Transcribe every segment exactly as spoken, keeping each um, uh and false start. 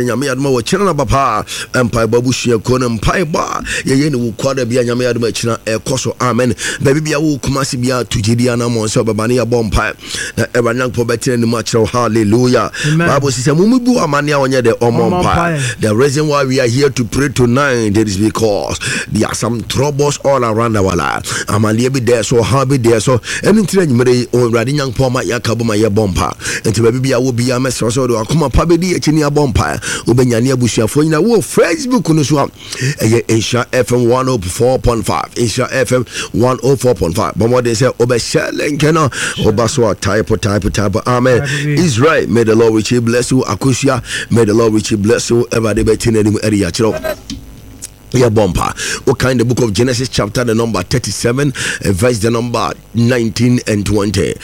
Nyame adom a wɔkyerɛ no aba paa. Mpaebɔ abusuakuo no mpaebɔ a yɛyɛ ne wo kwada bia, Nyame adom akyina ɛkɔ so. Amen. Baabi bia wo Kumase bia, to gyedi anammɔn sɛ wobɛba ne yɛbɔ mpae na Awurade Nyankopɔn bɛtena ne mu akyerɛ wo. Hallelujah. Bible sɛ sɛ momubu amane a ɔnyɛ dɛ ɔmmɔ mpae. The reason why we are here to pray tonight, it is because there are some troubles all around our life. Amanneɛ bi dɛɛ so, ɔhaw bi dɛɛ so. Ɛno nti na anwummerɛ yi Awurade Nyankopɔn ma yɛaka bɔ ma yɛbɔ mpa. Nti baabi bia wo bia, mɛsrɛ sɛ wode wakoma pa bɛdi akyi ne abɔ mpa. Wobɛnya ne abusuafoɔ nyina wɔ Facebook no so a ɛyɛ Nhyira F M one oh four point five, Nhyira F M one oh four point five. Bɔ mmɔden sɛ wobɛhyɛ link no. Woba so a, type, type, type amen. Israel, may the Lord richly bless you. Akosua, may the Lord richly bless you. Awurade bɛti n'anim ɛde yɛakyerɛw. Yɛbɔ mpa. Wokan the Book of Genesis, chapter the number thirty-seven, verse the number nineteen and twenty.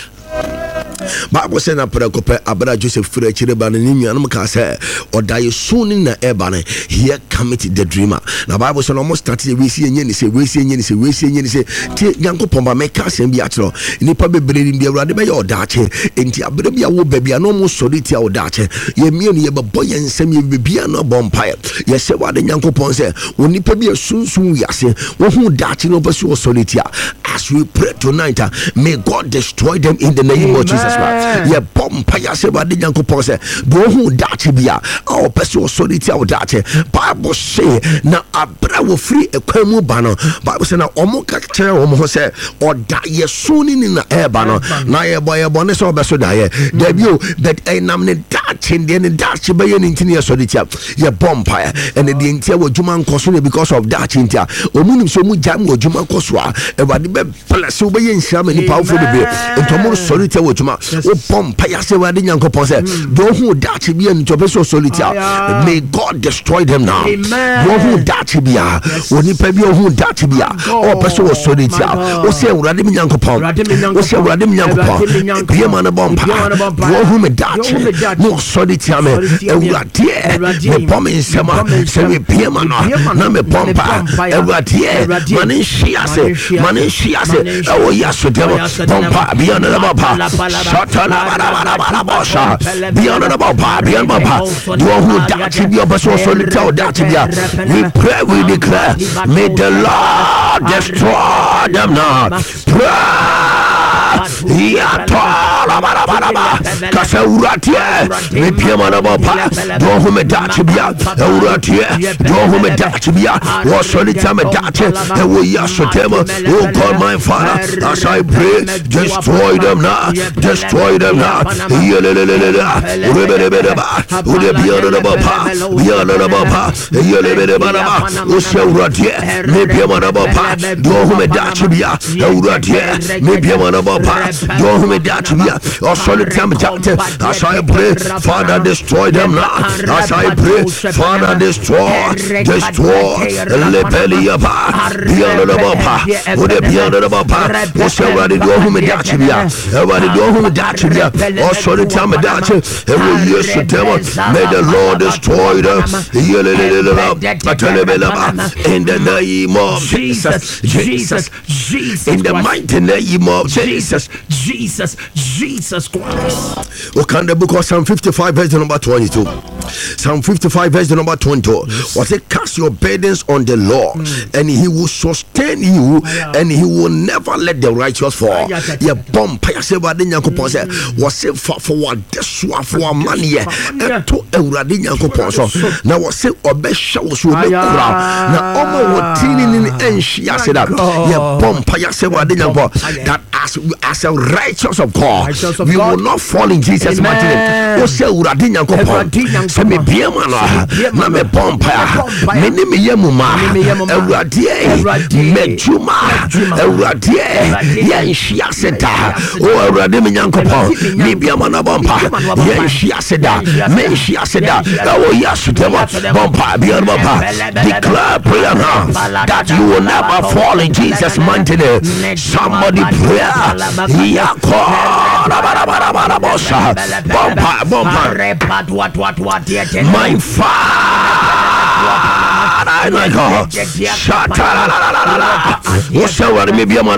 Bible sɛ na prɛko pɛ abera Joseph firi akyire ba no, ne nuanom kaa sɛ ɔda yɛ su ne na ɛba no, "Here cometh the dreamer." Na Bible sɛ na ɔmo start yɛ weesi ɛnyɛ ne sɛ weesi ɛnyɛ ne sɛ weesi ɛnyɛ ne sɛ. Tie, Nyankopɔn ba, mɛka asɛm bi akyerɛ nnipa bebree nim deɛ Awurade bɛyɛ ɔdaakye. Enti abere bi a wo baabi a na ɔmo sɔre tia ɔdaakye, yɛ mmienu yɛbɛbɔ yɛn nsɛm, yɛ bibia no abɔ mpaeɛ. Yɛsɛ wade Nyankopɔn sɛ onipa bi a sunsun wiase wohu daakye no ɔpɛ so ɔsɔre tia. As we pray tonight, uh, may God destroy them in the name of Jesus Christ. Yɛbɔ mpa yɛasɛ Awurade Nyankopɔn sɛ deɛ ɔhu daakye bi a a ɔpɛ sɛ ɔsɔre tia wo daakye. Bible se na aberɛ a wɔfiri ɛkwan mu ba no, Bible sɛ na ɔmo ka kyerɛ wɔn ho sɛ ɔda yɛso ne ni na ɛɛba no. Na yɛbɔ yɛbɔ ne sɛ ɔbɛso daeɛ dabi o, but ɛnam ne daakye deɛ ne daakye bɛyɛ ne nti ne yɛsɔre tia. Yɛbɔ mpaeɛ ɛne deɛ ntia wɔ adwuma nkɔ so ne because of daakye nti a ɔmu nim sɛ ɔmu gya mu adwuma kɔ so a, Awurade bɛbless wobɛyɛ nhyira ma nipa awofoɔ bebree. Nti ɔmo sɔre tia wɔ adwuma. Wobɔ mpaeɛ sɛ Awurade Nyankopɔn sɛ deɛ ɔhu daakye bi a nti ɔpɛ sɛ ɔsɔre tia, may God destroy them now. Deɛ ɔhu daakye bi a, onipa bi a ɔhu daakye bi a ɔpɛ sɛ ɔsɔre tia, wosɛ Awurade me Nyankopɔn, wosɛ Awurade me Nyankopɔn, bie ma no bɔ mpa. Deɛ ɔhu me daakye na ɔsɔre tia me, Awuradeɛ, mebɔ me nsɛm a sɛ mebie ma no na mebɔ mpa, Awuradeɛ, ma ne nhye ase, ma ne nhye ase ɛwɔ yi asodɛm. Bɔ mpa bia no bɔ mpa shatalabarabarabarabɔsa bia no bɔ mpa, bia no bɔ mpa. Deɛ ɔhu daakye bi ɔpɛ sɛ ɔsɔre tia wo daakye bi a, we pray, we declare, may the Lord destroy them now. Pray. Yatɔlabarabaraba kasa, Awuradeɛ, mepia ma no bɔ pa. Deɛ ɔhu me daakye bia, Awuradeɛ, deɛ ɔhu me daakye bia wɔsɔre tia me daakye ɛwɔ yi asotɛm. Oh God, my Father, as I pray, destroy them now, destroy them now. Yelelelelele rebelebeleba wode bia no bɔ pa, bia no bɔ pa. Yelebelebalaba wosɛ, Awuradeɛ, mepia ma no bɔ pa. Deɛ ɔhu me daakye bia, Awuradeɛ, mepia ma no bɔ pa. Deɛ ɔhu me daakye bia ɔsɔre tia me daakye, as I pray, Father, destroy them now. As I pray, Father, destroy, destroy. Lepeliaba bia no bɔ pa, wode bia no bɔ pa. Wosɛ, Awurade, deɛ ɔhu me daakye bia, Awurade, deɛ ɔhu me daakye bia ɔsɔre tia me daakye ɛwɔ Yesu dɛm, may the Lord destroy them. Yeleleleleba atelebeleba in the name of Jesus, Jesus, Jesus, in the mighty name of Jesus. Jesus, Jesus Christ. We can the Book of Psalm fifty-five, verse number twenty-two. Psalm fifty-five, verse number twenty-two. Was it, "Cast your burdens on the Lord, mm. and he will sustain you, and he will never let the righteous fall." Yeah, bomb. Sɛ Awurade Nyankopɔn sɛ wɔse fa fa wadesoa fo amanneɛ ɛto Awurade Nyankopɔn so na wɔse ɔbɛhyɛ wo so, ɔbɛkura na ɔma wɔ tini ne ɛnhwe ase da. Yɛbɔ mpa yɛ sɛ Awurade Nyankopɔn that as, as a righteous of God, righteous of we God, will not fall in Jesus' mighty name. Wo sɛ Awurade Nyankopɔn sɛ mebie ma no a na mebɔ mpa a me ne meyɛ mu ma Awuradeɛ m'adwuma, Awuradeɛ, yɛnhwe ase da. O Awurade me Nyankopɔn, mebia ma no bɔ mpa, yɛnhwe ase da, menhwe ase da ɛwɔ Yesu dɛm. Bɔ mpa bia no bɔ mpa. Declare prayer now that you will never fall in Jesus' mighty name. Somebody pray. Yakɔ rabarabarabarabosa. Bɔ mpa, bɔ mpa. My Father, my God. Shatalalala. Wosɛ Awurade mebia ma no